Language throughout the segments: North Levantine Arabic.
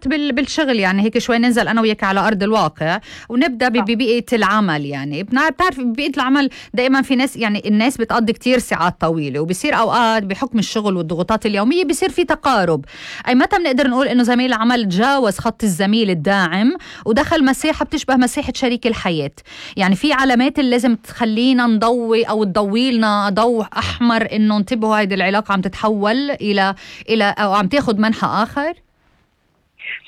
مرات بالشغل، يعني هيك شوي ننزل أنا وياك على أرض الواقع ونبدأ ببيئة العمل. يعني بتعرف ببيئة العمل دائما في ناس، يعني الناس بتقضي كتير ساعات طويلة، وبصير أوقات بحكم الشغل والضغوطات اليومية بصير في تقارب. أي متى بنقدر نقول إنه زميل العمل تجاوز خط الزميل الداعم ودخل مساحة بتشبه مساحة شريك الحياة؟ يعني في علامات اللي لازم تخلينا نضوي أو تضوي لنا ضوء أحمر إنه انتبهوا هيدي العلاقة عم تتحول إلى أو عم تاخد منحى آخر.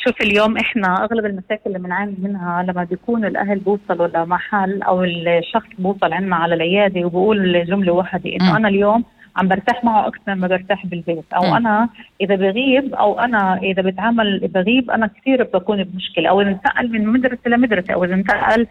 شوف، اليوم احنا اغلب المشاكل اللي بنعاني منها لما بيكون الاهل بوصلوا لمحل او الشخص بوصل عنا على العياده وبقول جمله واحده انه انا اليوم عم برتاح معه اكثر ما برتاح بالبيت، او انا اذا بغيب او انا اذا بتعامل بغيب انا كثير بكون بمشكله، او اذا انتقل من مدرسه لمدرسه، او اذا انتقل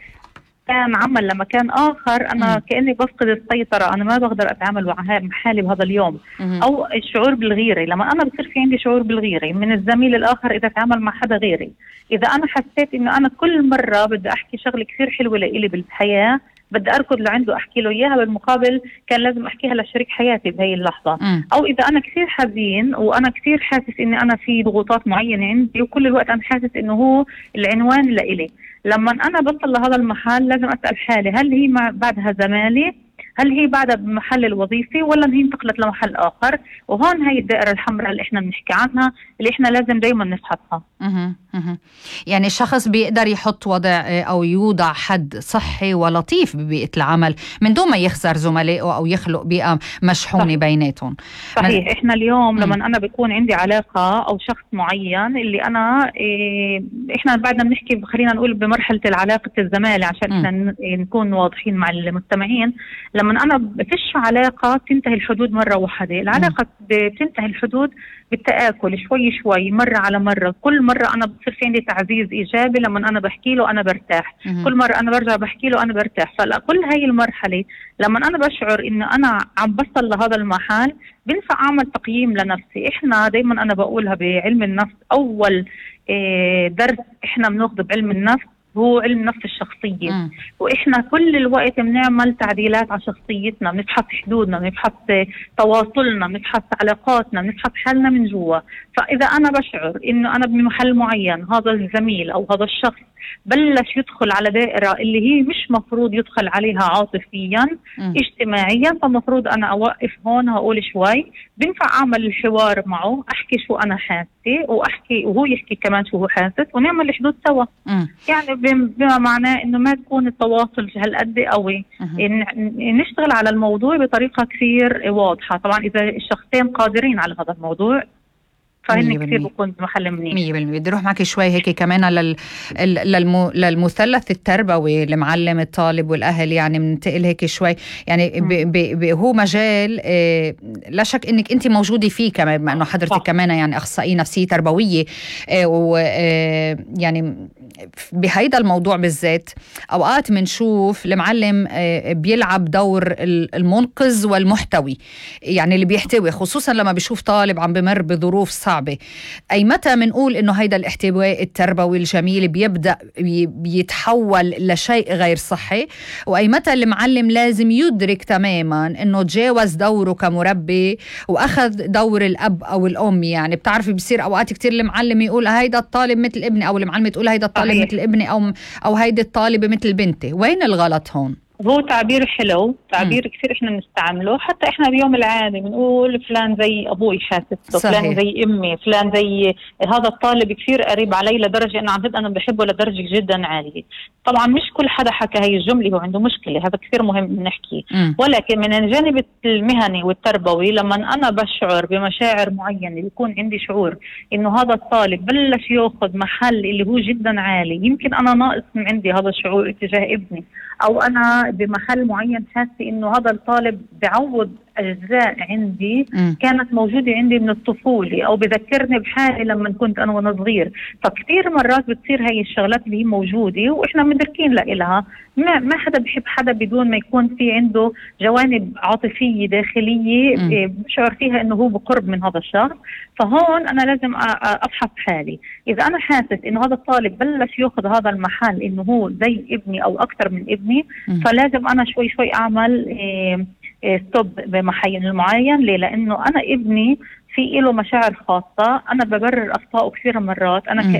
كان عمل لمكان آخر أنا كأني بفقد السيطرة، أنا ما بقدر أتعامل مع حالي بهذا اليوم. أو الشعور بالغيرة، لما أنا بصير في عندي شعور بالغيرة من الزميل الآخر إذا تعامل مع حدا غيري. إذا أنا حسيت إنه أنا كل مرة بدي أحكي شغلة كثير حلوة لإلي بالحياة بدي أركض لعنده أحكي له إياها، بالمقابل كان لازم أحكيها لشريك حياتي بهي اللحظة. أو إذا أنا كثير حزين وأنا كثير حاسس إني أنا في ضغوطات معينة عندي وكل الوقت أنا حاسس إنه هو العنوان لإلي، لما أنا بصل لهذا المحل لازم أسأل حالي هل هي بعدها زمالي؟ هل هي بعدها بمحل الوظيفي ولا هي انتقلت لمحل آخر؟ وهون هي الدائرة الحمراء اللي احنا بنحكي عنها اللي احنا لازم دايما نفحصها. يعني الشخص بيقدر يحط وضع أو يوضع حد صحي ولطيف ببيئة العمل من دون ما يخسر زملائه أو يخلق بيئة مشحونة بيناتهم. صحيح. احنا اليوم لما أنا بكون عندي علاقة أو شخص معين اللي أنا احنا بعدنا بنحكي خلينا نقول بمرحلة العلاقة الزمالة عشان احنا نكون واضحين مع المستمعين. لما أنا بفش علاقة تنتهي الحدود مرة واحدة، العلاقة بتنتهي الحدود بالتآكل شوي شوي مرة على مرة. كل مرة أنا بصير في عندي تعزيز إيجابي لما أنا بحكي له أنا برتاح، كل مرة أنا برجع بحكي له أنا برتاح. فكل هاي المرحلة لما أنا بشعر إنه أنا عم بصل لهذا المحل بنفع أعمل تقييم لنفسي. إحنا دايما أنا بقولها بعلم النفس، أول درس إحنا بناخده بعلم النفس هو علم نفس الشخصية. وإحنا كل الوقت بنعمل تعديلات على شخصيتنا، بنفحص حدودنا، بنفحص تواصلنا، بنفحص علاقاتنا، بنفحص حالنا من جوا. فإذا أنا بشعر إنه أنا بمحل معين هذا الزميل أو هذا الشخص بلش يدخل على دائرة اللي هي مش مفروض يدخل عليها عاطفيا اجتماعيا، فمفروض أنا أوقف هون، هقول شوي، بنفع أعمل الحوار معه، أحكي شو أنا حاسة وأحكي وهو يحكي كمان شو هو حاسس ونعمل الحدود سوا. يعني بما معناه إنه ما تكون التواصل هالقد قوي، نشتغل على الموضوع بطريقة كثير واضحة. طبعا إذا الشخصين قادرين على هذا الموضوع فهن كثير بكون بمحل منيح. 100%. بدي اروح معك شوي هيك كمان للمثلث التربوي، المعلم الطالب والاهل، يعني بننتقل هيك شوي. يعني هو مجال لا شك انك انت موجوده فيه كمان، بما انه حضرتك كمان يعني اخصائيه نفسيه تربويه، ويعني بهيدا الموضوع بالذات اوقات بنشوف المعلم بيلعب دور المنقذ والمحتوي، يعني اللي بيحتوي، خصوصا لما بيشوف طالب عم بمر بظروف صعبة. أي متى منقول إنه هيدا الاحتواء التربوي الجميل بيبدأ بيتحول لشيء غير صحي، وأي متى المعلم لازم يدرك تماما إنه تجاوز دوره كمربي وأخذ دور الأب أو الأم. يعني بتعرفي بصير أوقات كتير المعلم يقول هيدا الطالب مثل ابني، أو المعلمة تقول هيدا الطالب مثل ابني، أو هيدا الطالبة مثل بنتي. وين الغلط هون؟ هو تعبير حلو، تعبير كثير احنا بنستعمله، حتى احنا بيوم العادي بنقول فلان زي ابوي حاسس، فلان زي امي، فلان زي هذا الطالب كثير قريب علي لدرجه انه عن جد انا بحبه لدرجه جدا عاليه. طبعا مش كل حدا حكى هي الجمله هو عنده مشكله، هذا كثير مهم نحكي. ولكن من الجانب المهني والتربوي لما انا بشعر بمشاعر معينه، بيكون عندي شعور انه هذا الطالب بلش ياخذ محل اللي هو جدا عالي، يمكن انا ناقص من عندي هذا الشعور اتجاه ابني، او انا بمحل معين حاسه انه هذا الطالب بعوض اجزاء عندي كانت موجوده عندي من الطفوله، او بذكرني بحالي لما كنت انا وانا صغير. فكثير مرات بتصير هي الشغلات اللي هي موجوده واحنا مدركين لها. ما حدا بحب حدا بدون ما يكون في عنده جوانب عاطفيه داخليه بشعر فيها انه هو بقرب من هذا الشخص. فهون انا لازم افحص حالي، اذا انا حاسس انه هذا الطالب بلش ياخذ هذا المحل انه هو زي ابني او اكثر من ابني، فلازم انا شوي شوي اعمل ستوب بمحل معين. ليه؟ لانه انا ابني في له مشاعر خاصه، انا ببرر اخطائه كثير مرات، انا